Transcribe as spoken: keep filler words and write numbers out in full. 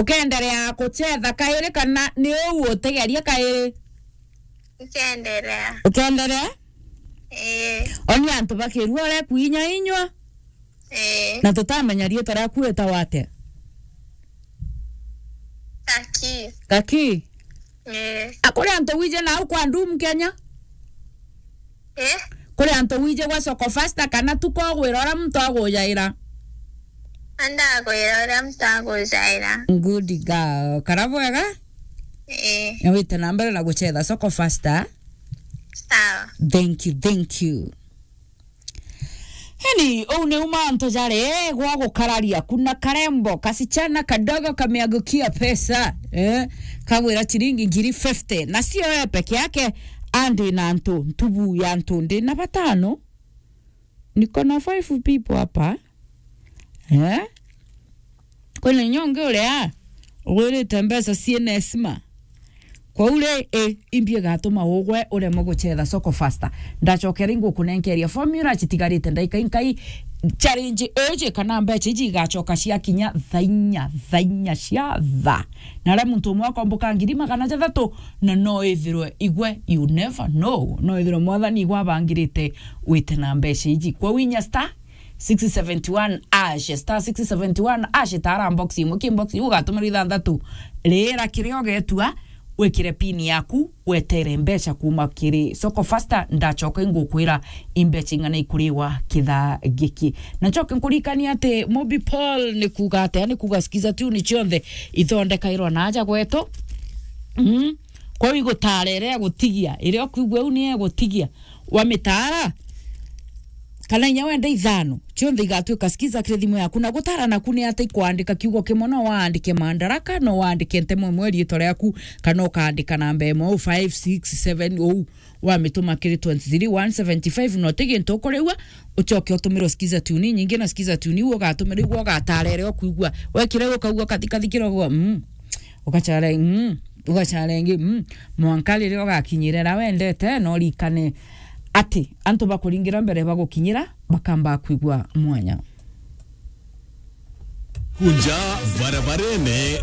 Ukenderea kuchetha kairi kana ni uu utigeria kairi? Ukenderea. Ukenderea? Ii. Oni antu bakirua urekuinyainywa? Ii. Na tutamenya riitwa riaku witagwa atia? Kaki. Kaki? Ii. A, kuri antu wije nau kwa Ndum Kenya? Eh? Kuri antu wije gwa Soko Fasta kana tu kogwira uria muntu agujaira? Andagwira uria muntu agujaira. Good girl. Kara bwega? Eh. Na wite na mbere na guchetha Soko Fasta. Sawa. Thank you, thank you. Heni, uu ni uma antu jari gwa gukararia, kuna karembo, kasichana kadogo kameangukia pesa, eh, kagwira chiringi ngiri fifty, na sio wewe peke yake, andi na antu, ntubu ya antu ndi na batano, niko na five people hapa, eh, kwina inya ungi uria ugwirite mbeca ciina esima. Kwou ri, i, imbi igatuma ugwe uremwe guchetha Soko Fasta. Ndacokera ingukunenkeria formula citigarite ndaika inkai. Challenge iji kana mbeca iji igacoka ciakinya thaa inya, thaa inya cia thaa. Na aria muntu umwe akomboka ngiri magana jathatu, na no ithirwe igwe, you never know. No ithirwe Mwathani igwe abangirite wite na mbeca iji. Kwou inya star six seventy one hash, star six seventy one hash, tara box imwe, ki box iu ugatumirwa ithanthatu. Rira kiria ugetua, wikire pin yaku, wetere mbeca kuma kiri Soko Fasta, ndacoka ingukwira imbeca ing'ana ikuriwa kithaa giki. Na ncoke nkuririkanie ati Mobi Paul ni kuuga atia, ni kuuga Skiza Tune cionthe ithondekairwa na aja gwetu. Mm. Kwou igutara iria egutigia, iria ukwigua u ni egutigia, wamitara, kana inya wenda ithano, cionthe igatuika Skiza kiri thimu yaku. Na gutara naku ni ati ikwandika kiugo kimwe, no waandike Madaraka, no waandike ntemo imwe riitwa riaku, kana ukaandika namba imwe, uu five six seven, uu wamituma kiri twenty three one seventy five, no ti gintu ukuriua, ucoke utumirwe Skiza Tune inyingi, na Skiza Tune iu ugatumirwa igwe ugatara iria ukwigua. Wekire ukaigua kathi kathi kirogo, mm. Ugacare, mm, ugacare ingi, mm. Mwanka riria ugakinyira iria wendete, no urikane ati antu bakuringira mbere bagukinyira, bakamba kwigua mwanya. Kunja barabarene